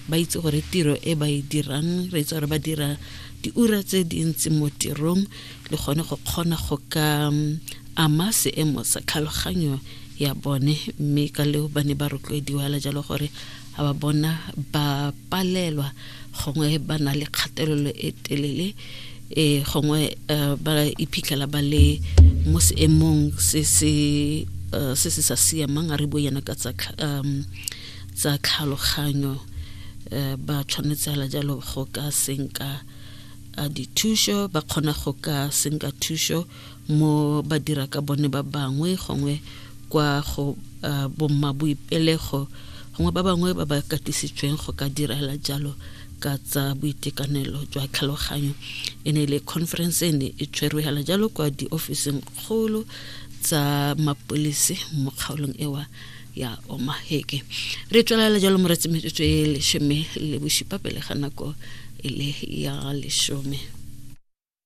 Ba itse gore tiro e ba e dirang, re itse gore ba dira diura tse dintsi mo tirong, le gone go kgona go ka ama seemo sa tlhaloganyo ya bone. Mme ka leo ba ne ba rotloediwa hela jalo gore ga ba bona ba palelwa, gongwe ba na le kgatelelo e telele, e gongwe ba iphitlhela ba le mo seemong se se se se sa siamang, a re bue yana ka tsa tsa tlhaloganyo, ba tshwanetse hela jalo go ka senka dithuso. Ba kgona go ka senka thuso mo ba dira ka bone ba bangwe, gongwe kwa go bomma boipelego, gongwe ba bangwe ba ba katisitsweng go ka direla jalo ka tsa boitekanelo jwa tlhaloganyo. E ne le conference e ne e tshwerwe hela jalo kwa diofising kgolo tsa mapolisi mo kgaolong ewa ya Omaheke. Re tswelela jalo moretsi, metsotso e 17 pele ga nako e le ya 10.